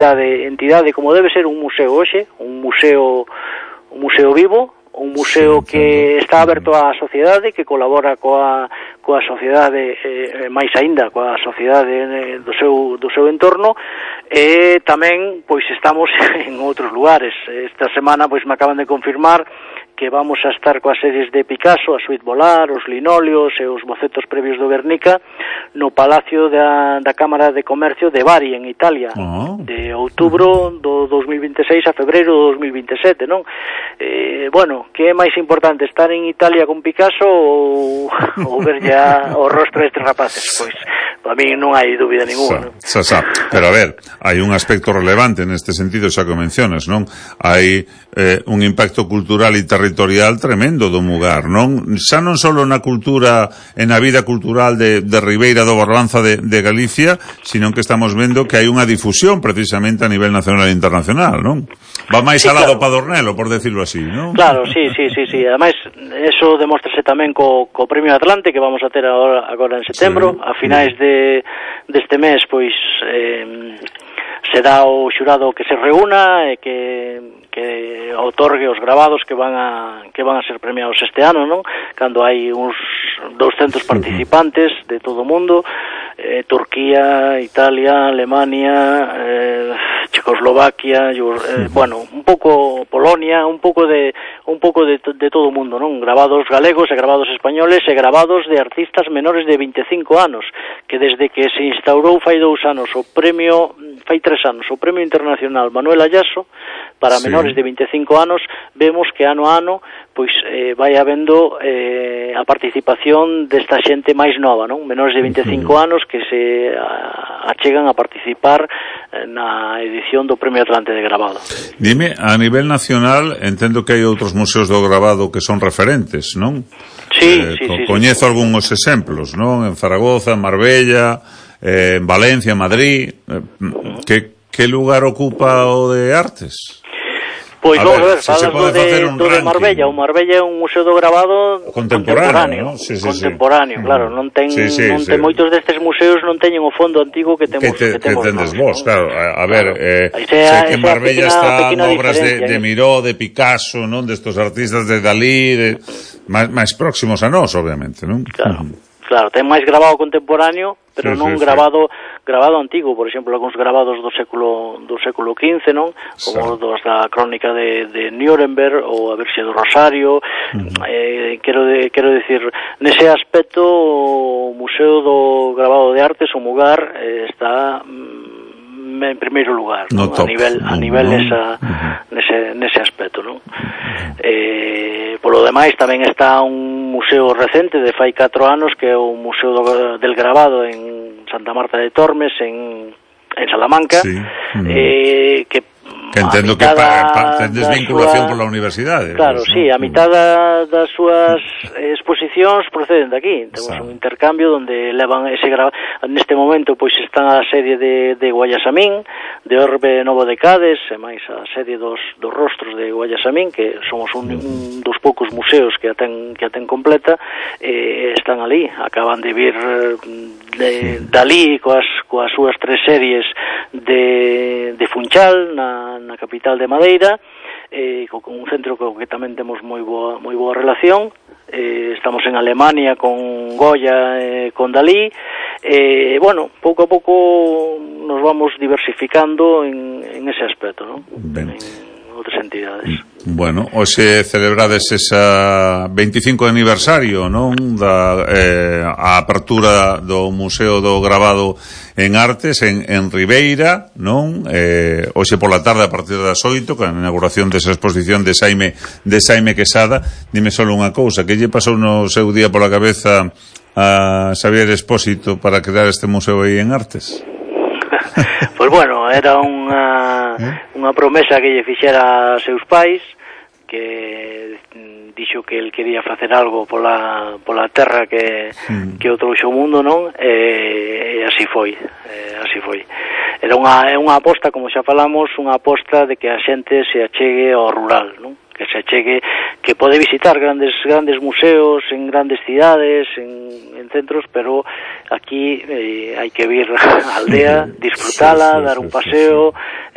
entidade como debe ser un museo hoxe, un museo vivo, un museo que está aberto á sociedade, que colabora coa sociedade, máis aínda coa sociedade do seu entorno, e tamén pois estamos en outros lugares. Esta semana pois me acaban de confirmar que vamos a estar coas series de Picasso, a Suite Volar, os linóleos e os bocetos previos do Guernica no Palacio da Cámara de Comercio de Bari, en Italia, de outubro do 2026 a febreiro do 2027, non? Bueno, que é máis importante, estar en Italia con Picasso ou ver ya o rostro destes rapaces? Pois, para mí non hai dúbida ninguna, non? Pero a ver, hai un aspecto relevante neste sentido, xa que mencionas, non? Hai un impacto cultural e territorial tremendo do Mugar, non? Xa non só na cultura e na vida cultural de Ribeira do Barbanza de Galicia, sino que estamos vendo que hai unha difusión precisamente a nivel nacional e internacional, non? Va máis al lado Padornelo, por decirlo así, non? Claro, sí. Ademais, eso demóstrase tamén co Premio Atlante que vamos a ter agora en setembro, a finais deste mes, pois será o xurado que se reúna e que outorgue os gravados que van a ser premiados este ano, non? Cando hai uns 200 participantes de todo o mundo, Turquía, Italia, Alemania, Checoslovaquia, bueno, un pouco Polonia, un pouco de todo o mundo, non? Gravados galegos e gravados españoles e gravados de artistas menores de 25 anos, que desde que se instaurou fai 3 anos o Premio Internacional Manuel Ayaso para menores de 25 anos, vemos que ano a ano pois vai habendo a participación desta xente máis nova, non? Menores de 25 anos que se achegan a participar na edición do Premio Atlante de Gravado. Dime, a nivel nacional entendo que hai outros museos do gravado que son referentes, non? Sí. Coñezo algúns exemplos, non? En Zaragoza, en Marbella, en Valencia, en Madrid. Que lugar ocupa o de Artes? Pois vamos a ver, falas do de Marbella. O Marbella é un museo do gravado contemporáneo, ¿no? Sí, claro, non ten moitos destes museos non teñen o fondo antigo que temos tendes vos, claro. A ver, sei que en Marbella están obras de Miró, de Picasso, non? Destos artistas de Dalí, máis próximos a nós, obviamente, non? Claro, ten máis grabado contemporáneo, pero non grabado antigo, por exemplo, algúns grabados do século XV, non? Como dos da crónica de Nuremberg ou a Virxe do Rosario. Quero dicir, nese aspecto o Museo do Gravado de Artes, o Mugar, está en primeiro lugar, non? A nivel nese aspecto, non? Polo demais tamén está un museo recente de fai 4 anos que é o Museo del Gravado en Santa Marta de Tormes en Salamanca, que entendo que tendes vinculación pola universidade. Claro, sí, a mitad das súas exposicións proceden de aquí. Temos un intercambio onde levan ese grabado. Neste momento pois están a serie de Guayasamín, de Orbe Novo de Cades, e máis a serie dos rostros de Guayasamín, que somos un dos poucos museos que a ten completa, están ali. Acaban de vir Dalí coas súas 3 series de Funchal na capital de Madeira, con un centro co que tamén temos moi boa relación. Estamos en Alemania con Goya e con Dalí. Bueno, pouco a pouco nos vamos diversificando en ese aspecto, non? En outras entidades. Bueno, hoxe celebrades esa 25 aniversario, non? A apertura do Museo do Gravado en Artes en Ribeira, non? Hoxe pola tarde a partir das 8, con a inauguración desa exposición de Xaime Quesada. Dime só unha cousa, que lle pasou no seu día pola cabeza a Xavier Expósito para crear este museo aí en Artes? Pois bueno, era unha promesa que lle fixera a seus pais, que dixo que el quería facer algo pola terra que o trouxo o mundo, non? E así foi. Era unha aposta, como xa falamos, unha aposta de que a xente se achegue ao rural, non? Que se achegue, que pode visitar grandes museos en grandes cidades, en centros, pero aquí hai que vir á aldea, disfrutala, dar un paseo,